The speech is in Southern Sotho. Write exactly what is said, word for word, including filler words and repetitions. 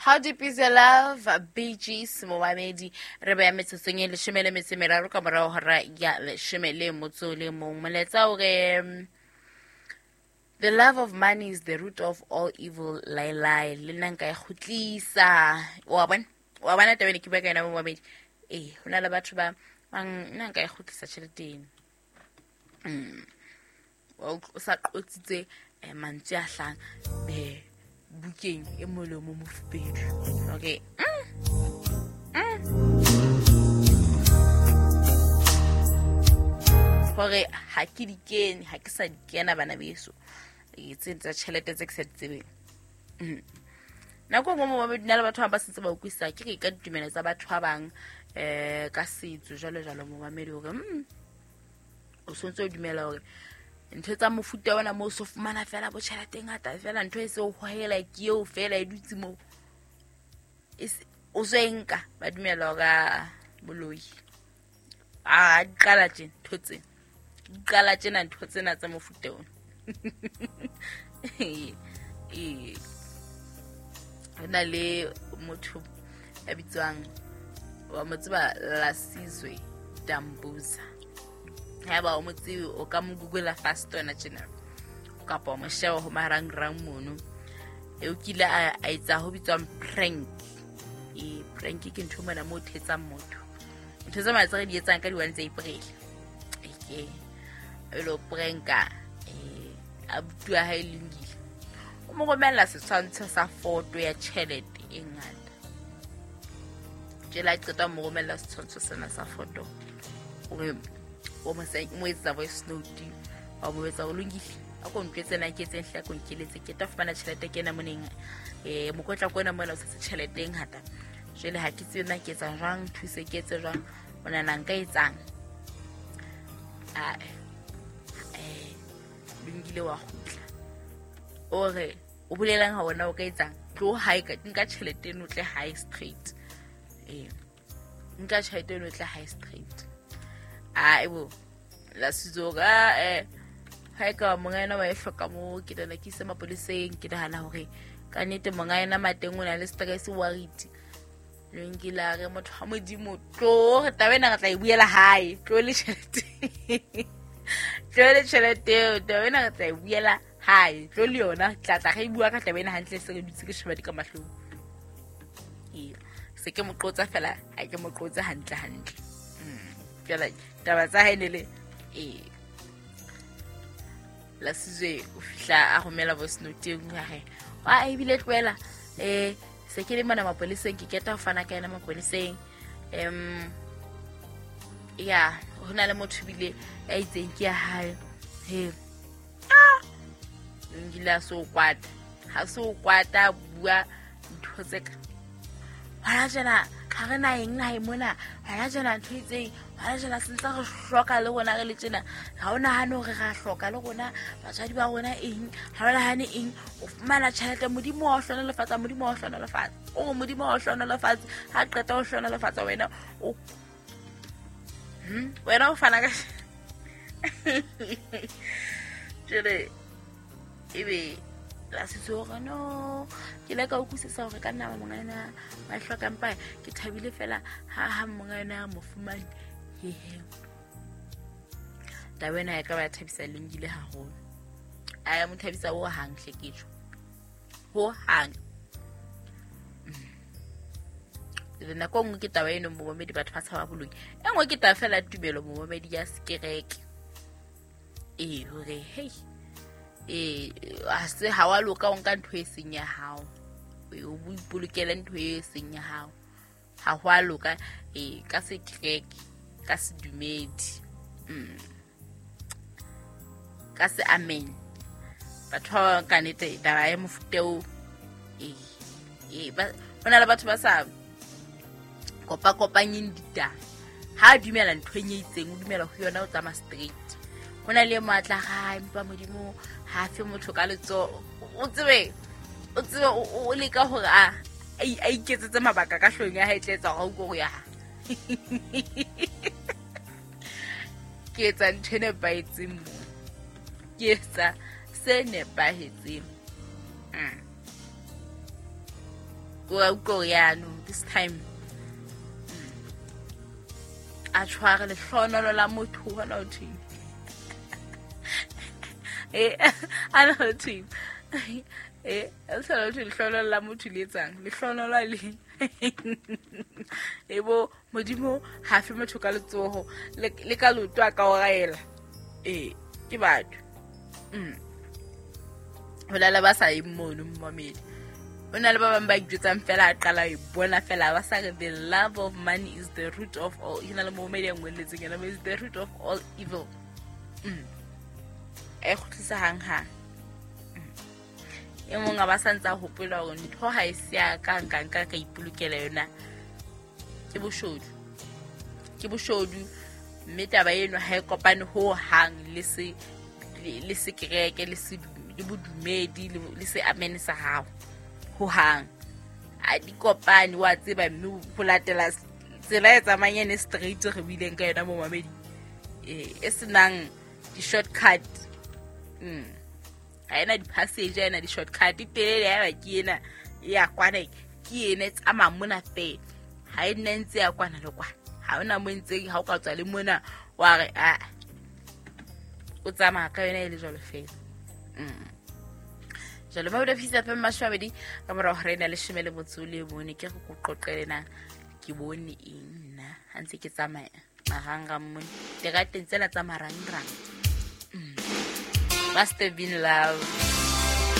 How Deep Is Your Love, Bee Gees, momamedi, re beya metsotsong e leshome le metso e meraro ka morao hora ya leshome le motso le mong. Molaetsa o re, the love of money is the root of all evil, lai lai. Le nna nka e kgutlisa. Wa bona? Wa bona taba ena ke bua ka yona momamedi? Eh, ho na le batho ba bang, nna nka e kgutlisa tjhelete eno. Mm. O sa qotsitse eh, mantswe a hlang eh bukeng e molomo mofubedu. Okay. Mm. Mm. Hore ha ke di kene, ha ke sa di kena bana beso. E tse tsa tjhelete tse ke sa di tsebeng. Mm. Nako nngwe mo ba le batho ba ba sentse ba utlwisisa ke re ka ditumelo tsa batho ba bang eh ka setso jwalo jwalo momamedi hore mm o sontse o dumela hore ntho tsa mofuta ona mo so fumana fela bo tjhelete e ngata fela ntho e se o hohela ke eo fela e dutse mo o so e nka ba dumela hore boloi a di qala tje ntho tse di qala tjena ntho tsena tsa mofuta ona. E na le motho ya bitswang wa mo tseba Lasizwe Dambuza. Haeba o mo tsebe o ka mo google fast wena tjena kapa o mo sheba ho marangrang mono. E o kile a etsa ho bitswang prank. E prank ke ntho mona mo thetsang motho. Ntho tse matse re di etsang ka di one tsa April. Eke e lo pranka eh abuti wa hae Lungile. O mo romella setshwantsho sa foto ya tjhelete e ngata. Tjela qeta mo romella setshwantsho sena sa foto. O re o mo mo etsa voice note wa mo etsa o Lungile a ko ntwetse na ke etseng hle ko nkeletse ke tla fumana tjhelete ke ena moneng eh mokotla ko ena mona o se tjhelete e ngata jwale ha ke tsebe na ke etsa jwang thuse ke etse jwang o nana nka etsang a eh Lungile wa kgutla o re o bolelang ha wona o ka etsang tlo hae ka nka tjhelete eno tle high straight eh nka tjhelete eno tle high straight. A ebo la sizoga eh ha ka monga ena wa e hloka mo ke dana ke se mapoliseng ke nahana hore ka nnete monga ena mateng o na le stress worried. Lungile a re motho ha modimo tlo re taba ena re tla e buela hae tlo le tjhelete tlo le tjhelete taba ena re tla e buela hae tlo le yona tla tla re bua ka taba ena hantle se re dutse ke sheba di ka mahlong. E se ke mo qotsa fela ha ke mo qotsa hantle hantle. Jwale taba tsa hae ne le e Lasizwe o fihla a romela voice note e nngwe a re wa ebile tlohela eh se ke le mona mapoliseng ke keta ho fana ka yena mapoliseng em ya ho na le motho bile ya itseng ke ya hae he ah Lungile a so kwata ha so kwata bua ntho tse ka hona jena ha re na eng nahe mona hona jena ntho itseng hona jena se ntse re hloka le rona re le tjena ha o nahane hore ra hloka le rona batswadi ba rona eng ha o nahane eng o fumana tjhelete modimo wa o hlohonolofatsa modimo wa o hlohonolofatsa o modimo wa o hlohonolofatsa ha qeta ho hlohonolofatsa wena o hm wena o fana ka jwale ebe la sitso no ke le ka utlwisisa hore ka nna monga ena ba hloka mpa ke thabile fela ha ha monga ena mo fumane hehe taba ena ya ka ba thabisa Lungile haholo a ya mo thabisa ho hang hle ke tjo ho hang le nako nngwe ke taba eno momamedi batho ba tshaba boloi e nngwe ke taba fela tumelo momamedi ya sekereke e hore hey e a se ha wa loka o nka ntho e seng ya hao o ipolokele ntho e seng ya hao ha ho a loka e ka sekereke ka sedumedi mm ka se amen batho ba ka nete taba ya mofuta o e e ba hona le batho ba sa kopa kopanyeng ditaba ha dumela ntho e itseng o dumela ho yona o tsamaya straight hona le matla ga empa modimo ha fe motho ka letso o tsebe o tsebe o leka hore a a iketsetse mabaka ka hlong ya hae tletsa hore o go ya ke etsa ntho e nepahetseng mo ke etsa se nepahetseng. O a utlwa hore ya no this time a tshware lehlohonolo la motho hona ho thweng. Eh a na ho thweng. Eh a tshware ho thwe lehlohonolo la motho le etsang lehlohonolo le e bo modimo ha fe motho ka letsoho le ka leoto a ka o raela. Eh ke batho. Mm. Ho na le ba sa yeng mono mmamedi. O na le ba bang ba ijwetsang fela a qala e bona fela ba sa re the love of money is the root of all. Ke na le momedi ya ngwelletseng yena is the root of all evil. Mm. E kgutlisa hang hang. E mong a ba sa ntsa hopola hore ntho ha e se ya ka nka nka ka ipolokela yona. Ke boshodu. Ke boshodu mme taba eno ha e kopane ho hang le se le se kereke le se le bodumedi le se amen sa hao. Ho hang a di kopane wa tseba mme ho latela tsela e tsamayang ene straight re buileng ka yona mo mamedi eh e senang di shortcut. Mm ha ena di passage ha ena di shortcut telele ya ba ke ena ya kwana ke ena e tsamaya mona fela ha e nna ntse ya kwana le kwana ha ona mo ntse ha o ka tswa le mona wa re a o tsamaya ka yona e le jwalo fela. Mm jalo ba o fisa fa mashwabedi ka mora hore ena leshome le motso le bone ke go qoqele na ke bone eng nna ha ntse ke tsamaya marangrang mone terateng tsela tsa marangrang. Must have been love.